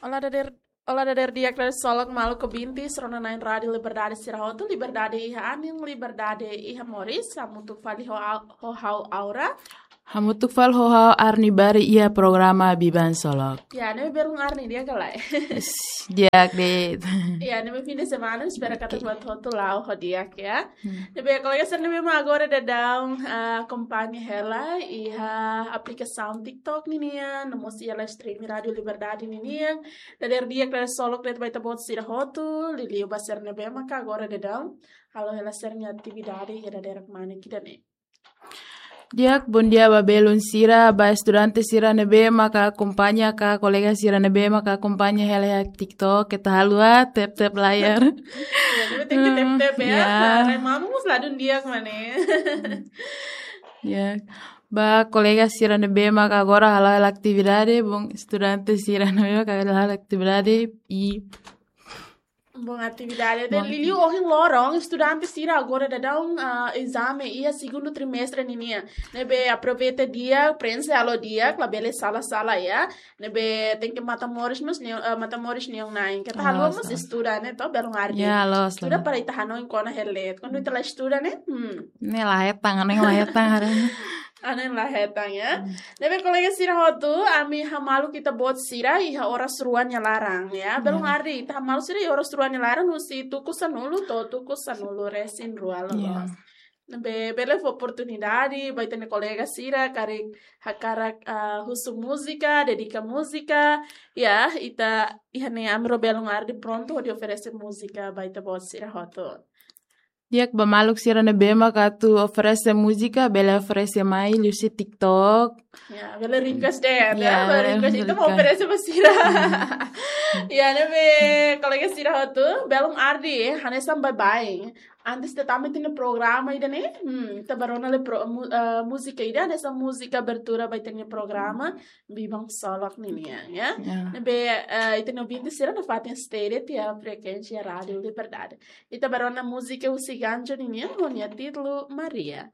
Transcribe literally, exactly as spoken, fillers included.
Olá, dader, olá, dader di'ak, dader solok maluk ouvintes rona-na'in Rádiu Liberdade sira hotu, liberdade iha anin, liberdade iha moris, hamutuk fali ho, au- ho ha'u Aura. Hamutuk fali ho ha'u Arni Bari iha programa Biban Solok. Ya, ne'e belun Arni di'ak ka lae? Di'ak de'it. Ya, ne'e fim de semana, espera katak buat hotu la'o ho di'ak ya. Hmm. Ne'ebé kolega sira ne'ebé mak agora daudaun, ah, akompaña hela iha aplikasaun TikTok ninian, no mós iha live stream Rádiu Liberdade ninian. Dader di'ak, dader solok de'it ba ita-boot sira hotu, liuliu ba sira ne'ebé maka agora daudaun halo hela sira-nia atividade iha dadeer-mane ida-ne'e. Di'ak, bondia ba belun sira, ba estudante sira ne'ebé maka akompaña ka kolega sira ne'ebé maka akompaña hela iha TikTok, keta haluha tap-tap layar. Ya, ne'ebé tenke tap-tap ya. Ya. Nah, rai mamu mós ladún di'ak mak ne'e. Ya. Ba kolega sira ne'ebé maka agora hala'o hela atividade, bom, estudante sira ne'ebé maka hala'o hela atividade i bom atividade. Bom. Liuliu ohin loron, estudante sira agora daudaun, ah, ezame iha segundu trimestre ninian. Ne'ebé aproveita di'ak, prenxe halo di'ak, labele sala-sala ya. Ne'ebé tenke matan-moris mós neon, ah, matan-moris neon-na'in. Keta haluha mós estuda ne'e, to, belun Arni. Ya, loos, estuda loos. Para ita hanoin kona hela de'it. Kuandu ita la estuda ne'e, hmm. Ne'e la hetan, ne'e la hetan, haree. Anin la hetan ya. Hmm. Ne'ebé kolega sira hotu, ami hamaluk ita-boot sira iha oras rua nia laran ya. Belun Arni, ita hamaluk sira iha oras rua nia laran husi tuku sanulu to'o tuku sanulu-resin-rua loloos. Ya. Ne'ebé bele fó oportunidade ba ita-nia kolega sira karik hakarak, ah, husu múzika, dedika múzika. Ya, ita iha ne'e ami ho belun Arni prontu hodi oferese múzika ba ita-boot sira hotu. Di'ak, ba maluk sira ne'ebé maka atu oferese múzika, bele oferese mai liuhusi TikTok. Ya, bele request de'it, ya, bele request. Ita mak oferese ba sira. Hmm. Ya, ne'ebé kolega sira hotu, belun Arni, hanesan baibain. Antes de tama ita-nia programa ida-ne'e, hmm, ita bá rona lai pro-, mu-, eh, múzika ida, hanesan múzika abertura ba ita-nia programa Biban Solok ninian ya. Ya. Ne'ebé, eh, ita-nia ouvinte sira nafatin stay de'it iha frekuénsia Rádiu Liberdade. Ita bá rona múzika husi Ganjo ninian ho nia títulu Maria.